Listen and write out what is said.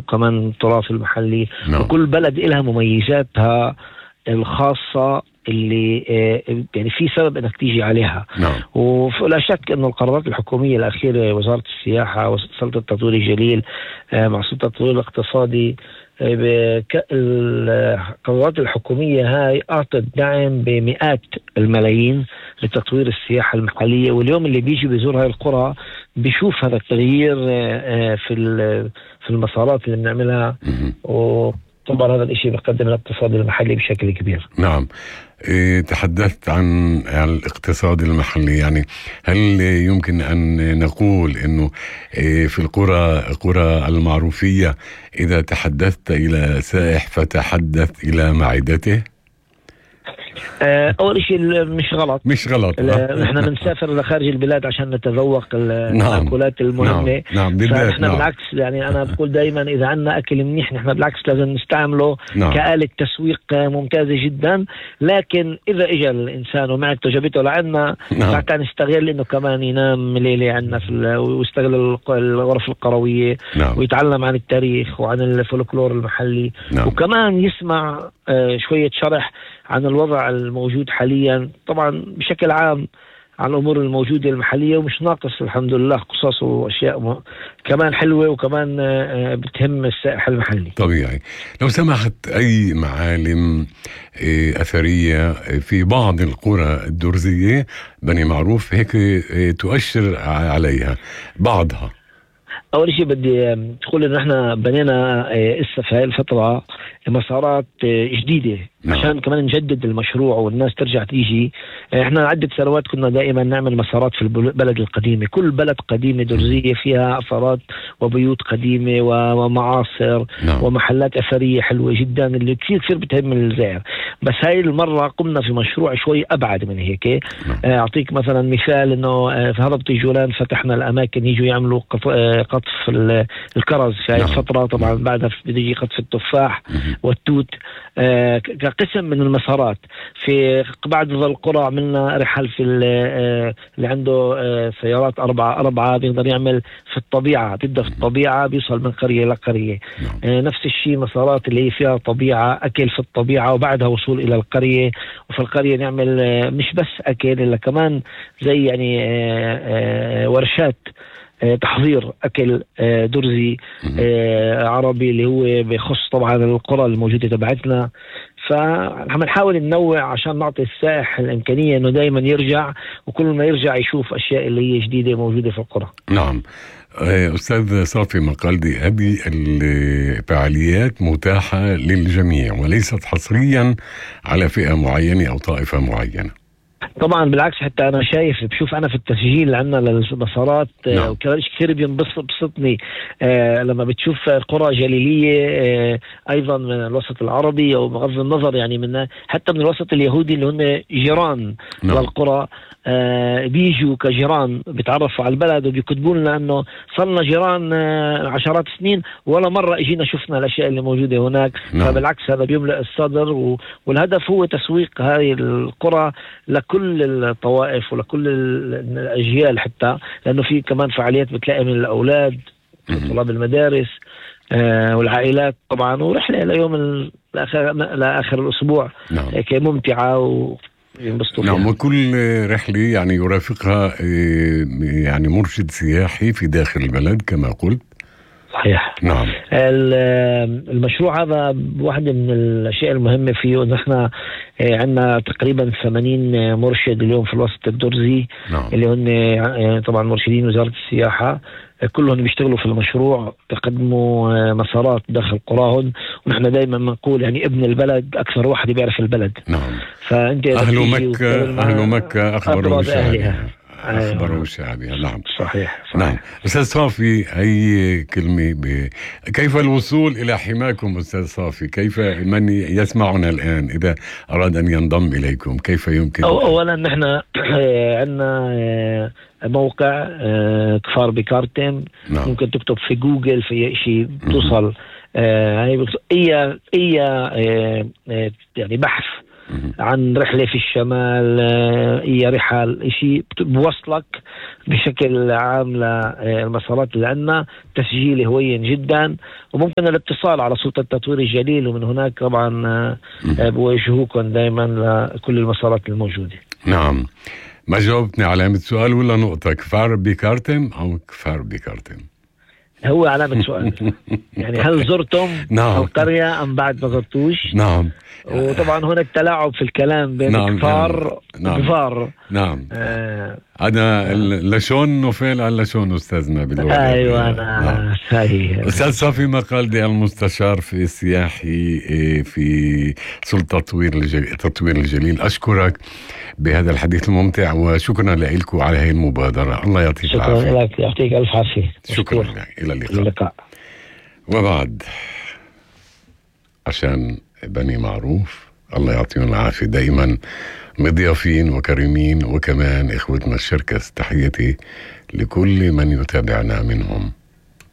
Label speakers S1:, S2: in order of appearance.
S1: وكمان التراث المحلي.
S2: نعم.
S1: وكل بلد إلها مميزاتها الخاصة اللي يعني في سبب انك تيجي عليها.
S2: نعم.
S1: ولا شك انه القرارات الحكومية الأخيرة، وزارة السياحة وسلطة التطوير الجليل مع سلطة التطوير الاقتصادي، القرارات الحكومية هاي أعطت دعم بمئات الملايين لتطوير السياحة المحلية. واليوم اللي بيجي بيزور هاي القرى بيشوف هذا التغيير في المسارات اللي بنعملها. وطبعا هذا الاشي بيقدم الاقتصاد المحلي بشكل كبير.
S2: نعم. تحدثت عن الاقتصاد المحلي، يعني هل يمكن أن نقول أنه في القرى المعروفية إذا تحدثت إلى سائح فتحدث إلى معدته؟
S1: أول شيء مش غلط. نحن بنسافر لخارج البلاد عشان نتذوق المأكولات المهمة.
S2: نعم.
S1: فنحن بالعكس، يعني أنا بقول دايما إذا عنا أكل منيح نحن بالعكس لازم نستعمله كآلة تسويق ممتازة جدا. لكن إذا إجا الإنسان ومعدته جابته لعنا ساعتها نستغل إنه كمان ينام ليلة عنا ويستغل الغرف القروية ويتعلم عن التاريخ وعن الفولكلور المحلي. وكمان يسمع شوية شرح عن الوضع الموجود حاليا، طبعا بشكل عام عن الأمور الموجودة المحلية، ومش ناقص الحمد لله قصص وأشياء كمان حلوة وكمان بتهم السائح المحلي.
S2: طبيعي. لو سمحت، أي معالم أثرية في بعض القرى الدرزية بني معروف هيك تؤشر عليها بعضها؟
S1: أول شيء بدي تقول إنه إحنا بنينا إسا في هاي الفترة مسارات جديدة عشان كمان نجدد المشروع والناس ترجع تيجي. إحنا عدة سنوات كنا دائما نعمل مسارات في البلد القديمة. كل بلد قديمة درزية فيها أثارات وبيوت قديمة ومعاصر ومحلات أثرية حلوة جدا اللي كثير بتهم الزائر. بس هاي المرة قمنا في مشروع شوي أبعد من هيك. أعطيك مثلا مثال إنه في هضبة الجولان فتحنا الأماكن يجوا يعملوا قطف الكرز في هاي الفترة. طبعا بعدها بيجي قطف التفاح والتوت كقسم من المسارات. في بعض القرى عملنا رحل في اللي عنده سيارات أربعة بيقدر يعمل في الطبيعة، بيبدأ في الطبيعة بيوصل من قرية لقرية. نفس الشيء مسارات اللي هي فيها طبيعة، أكل في الطبيعة وبعدها وصول إلى القرية. وفي القرية نعمل مش بس أكل إلا كمان زي يعني ورشات تحضير أكل درزي عربي اللي هو بيخص طبعا القرى الموجودة تبعتنا. فهنحاول ننوع عشان نعطي السائح الإمكانية إنه دايما يرجع، وكل ما يرجع يشوف أشياء اللي هي جديدة موجودة في القرى.
S2: نعم. أستاذ صافي مقلدي، هذه الفعاليات متاحة للجميع وليست حصريا على فئة معينة أو طائفة معينة؟
S1: طبعا بالعكس، حتى انا شايف بشوف انا في التسجيل اللي عندنا للمسارات وكمان كثير بينبسطني لما بتشوف قرى جليليه ايضا من الوسط العربي او بغض النظر يعني من حتى من الوسط اليهودي اللي هم جيران للقرى بيجوا كجيران بيتعرفوا على البلد وبيكتبوا لنا انه صرنا جيران عشرات السنين ولا مره اجينا شفنا الاشياء اللي موجوده هناك. فبالعكس هذا بيملأ الصدر، والهدف هو تسويق هذه القرى لكل الطوائف ولكل الأجيال، حتى لأنه في كمان فعاليات بتلاقي من الأولاد طلاب المدارس والعائلات طبعا، ورحلة ليوم لآخر الأسبوع ممتعة وينبسطوا فيها.
S2: نعم. وكل رحلة يعني يرافقها يعني مرشد سياحي في داخل البلد كما قلت.
S1: صحيح.
S2: نعم.
S1: المشروع هذا واحدة من الأشياء المهمة فيه إن احنا عندنا تقريبا 80 مرشد اليوم في الوسط الدرزي. اللي هن طبعا مرشدين وزارة السياحة، كلهم بيشتغلوا في المشروع، تقدموا مسارات داخل قراهم. ونحن دايما بنقول يعني ابن البلد أكثر واحد بيعرف البلد.
S2: نعم.
S1: فأنت
S2: أهل مكة أخبروا بشأنها. أخبروا شعبها. نعم.
S1: صحيح.
S2: نعم. أستاذ صافي، أي كلمة كيف الوصول إلى حماكم أستاذ صافي؟ كيف من يسمعنا الآن إذا أراد أن ينضم إليكم كيف يمكن؟
S1: أولا نحن عندنا موقع كفار بكارتم.
S2: نعم.
S1: ممكن تكتب في جوجل في شيء توصل أي يعني بحث عن رحلة في الشمال، هي رحل شيء بوصلك بشكل عام للمسارات اللي عندنا. تسجيلي هوين جدا، وممكن الاتصال على سلطة التطوير الجليل، ومن هناك طبعا بوجهوكم دائما لكل المسارات الموجودة.
S2: نعم. ما جاوبتني علامة سؤال ولا نقطة، كفار بكارتم أو كفار بكارتم؟
S1: هو علامة سؤال. يعني هل زرتم القرية أم بعد ما زرتوش؟
S2: نعم.
S1: وطبعا هناك تلاعب في الكلام بين كفار وكفار.
S2: نعم. أنا لشون نوفيل على لشون أستاذنا باللغة.
S1: أيوة أنا صحيح.
S2: أستاذ صافي مقالدي، المستشار في السياحي في سلطة تطوير الجليل، أشكرك بهذا الحديث الممتع، وشكرا لكم على هذه المبادرة. الله يعطيك العافية.
S1: شكرا لك، يعطيك ألف عافية.
S2: شكرا لك. إلى اللقاء. وبعد عشان بني معروف الله يعطيهم العافية دائما مضيافين وكريمين، وكمان إخوتنا الشركة، تحياتي لكل من يتابعنا منهم.